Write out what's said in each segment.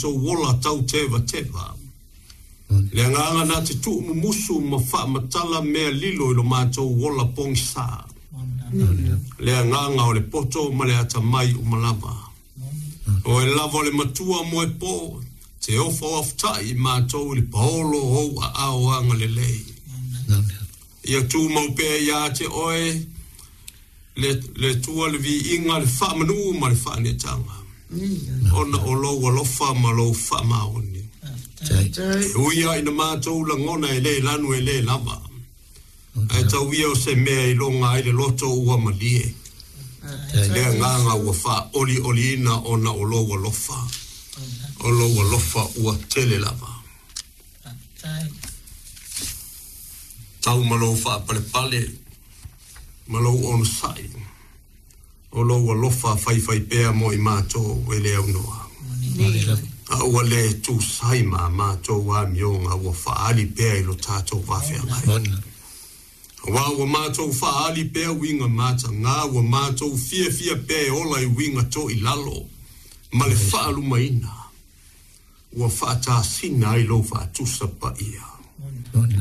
Matou ola tau tevateva. Le agaga na te tuumumusu ma faamatala mea lilo i lo matou ola pogisa. Le agaga o le poto ma le atamai uma lava. Oe lava o le matua moepo, te ofa oafuta'i i matou i le paolo o ou aao agalelei. Ia tumau pea ia te oe le, le Atua le viiga, le faamanū ma le faaneetaga, ona o lou alofa ma lou faamaoni. E ui lava ina matou lagona e le lanu e le lava, ae tau ia o se mea e iloga ai le loto ua malie, le agaga ua faaolioliina ona o lou alofa, o lou alofa ua tele lava. Tau ma lou faapalepale ma lou onosai, o lou alofa faifaipea mo i matou e le aunoa. A ua le tusai ma a matou amioga ua faaali pea i lo tatou vafeagai. Aua ua matou faaali pea uiga mataga, ua matou fiafia pea e ola i uiga toilalo ma le faalumaina. Ua faatasina ai lou faatusa paia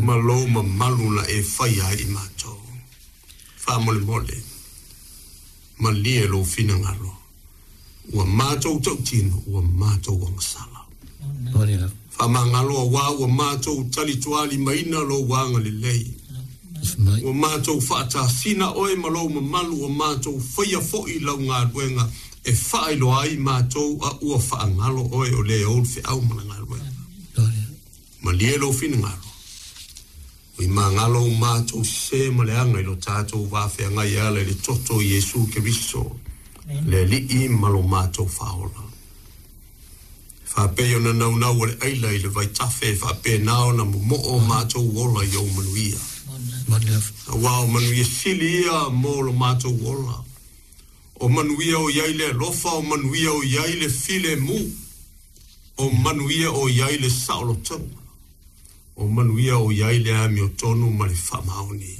ma lou mamalu na e faia ai i matou. Faamolemole, malie lou finagalo, ua matou tautino, ua matou agasala. Faamagalo aua ua matou talitualimaina lou agalelei. Ua matou faatasina oe ma lou mamalu, ua matou faia foi lau galuega e faailoa ai matou a ua faagalo oe o le ou le feau ma le galuega. Malie lou finagalo, ui magalo u matou sese ma leaga i lo tatou vafeagai e ala i le toto o Iesu Keriso, le Alii ma lo matou Faaola. E faapei ona naunau a le aila i le vaitafe e faapena ona momoo o matou ola i ou manuia. Aua o manuia sili ia mo lo matou ola. O manuia o i ai le alofa, o manuia o i ai le filemu, o manuia o i ai le saolotoga, o manuia o i ai le amiotonu ma le faamaoni,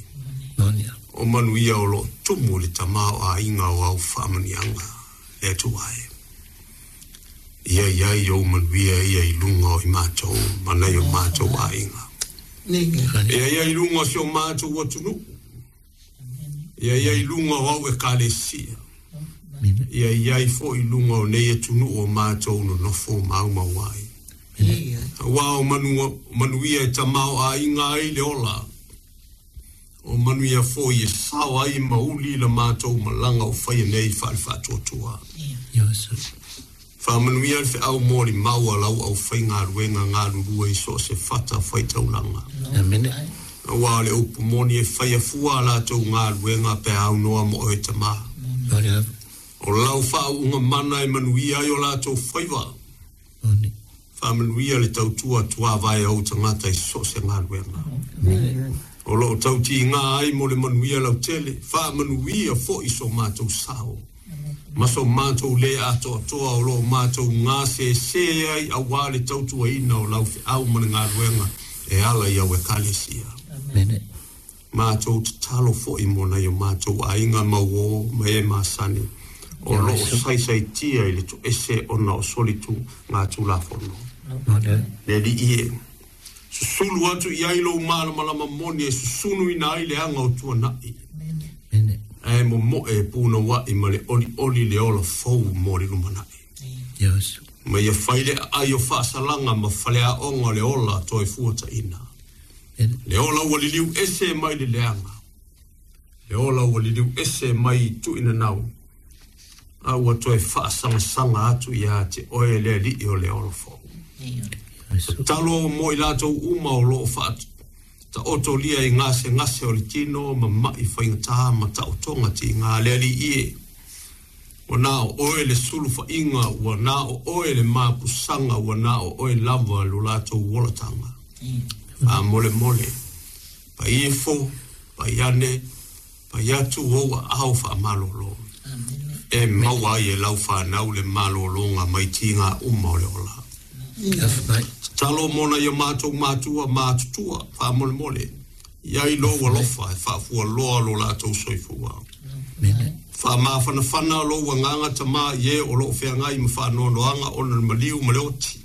o manuia o lo o tumu i le tamaoaiga o au faamanuiaga, le Atua e. Ia i ai ou manuia ia i luga o i matou ma nai o matou aiga. Ia i ai i luga o si o matou atunuu. Ia i ai i luga o au Ekalesia. Ia i ai foi i luga o nei atunuu o matou nonofo maumau ai. Aua o manuia e tamaoaiga ai le ola, o manuia foi e sao ai ma uli la matou malaga o faia nei faale-faatuatua. Faamanuia le feau molimau a lau aufaigaluega galulue i so o se fata faitaulaga. Aua o le upu moni e faia fua a latou galuega pe a aunoa mo oe Tama. O lau faauuga mana e manuia ai o latou faiva. Faamanuia le tautua tuavae a ou tagata i so o se galuega. O lo o tautiga ai mo le manuia lautele. Faamanuia foi so matou sao ma so matou lē atoatoa o lo o matou gasese ai aua le tautuaina o lau feau ma le galuega e ala i au Ekalesia. Matou tatalo foi mo nai o matou aiga ma uō ma e masani o lo o saisaitia i le toese ona o solituga Tulafono. Le Alii e, susulu atu i ai lou malamalama moni e susunuina ai le aga o tuanai, ae momoe e punouai ma le olioli le ola fou mo le lumanai. Ma ia fai le aai o faasalaga ma faleaoga o le ola toe fuataina. Le ola ua liliu ese mai le leaga, le ola ua liliu ese mai i tuinanau, a ua toe faasagasagaatu ia te oe le Alii o le ola fou. Tatalo mo i latou uma o lo o faataotolia i gasegase o le tino ma ma'i faigata ma taotoga tiga, le Alii e, ua na o oe le sulufaiga, ua na o oe le mapusaga, ua na o oe lava lo latou olataga. Faamolemole, pai ifo, pai ane, pai atu ou aao faamalolo, e maua ai e lau fanau le malologa mai tiga uma o le ola. Tatalo mo nai o matou matua matutua, faamolemole, i ai lou alofa e faafualoa lo latou soifua. Faamafanafana lou agaga Tama i e o lo o feagai ma faanoanoaga ona le maliu ma le oti.